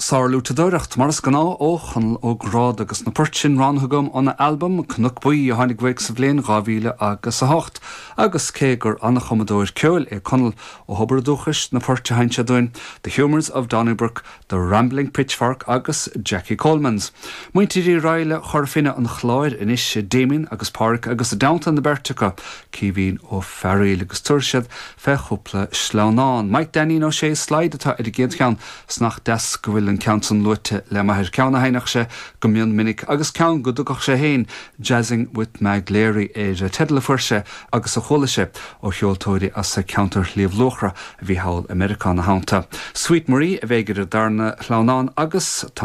Sárfhliúiteadóireacht, mar is gnáth, ó Chonall Ó Gráda agus na poirt sin roghnaithe agam óna albam Cnoc Buí a tháinig uaidh sa bhliain 2000 agus 8. Agus cé gur an-chumadóir ceoil é Conall, ó thobar a dúchais na poirt a sheinn sé dúinn, The Humours of Donnybrook, The Rambling Pitchfork agus Jackie Coleman's. Muintir Uí Raghallaigh Chora Finne an Chláir anois, Damien agus Páraic agus i dteannta na beirte acu, Caoimhín Ó Fearaíl agus tabharfaidh siad fé chúpla sleamhnán. Mike Dainín Ó Sé Slide atá ar an gcéad cheann 's nach deas go bhfuil an ceann san luaite le m'athair, ceann a sheinneadh sé go mion minic agus ceann go dtugadh sé féin Jazzing with Mag Leary air, teideal a fuair sé agus a chuala sé ó cheoltóirí as ceantar Shliabh Luachra a bhí thall i Meiriceá ina theannta. Sweet Marie a bheidh ar an darna sleamhnán agus tá.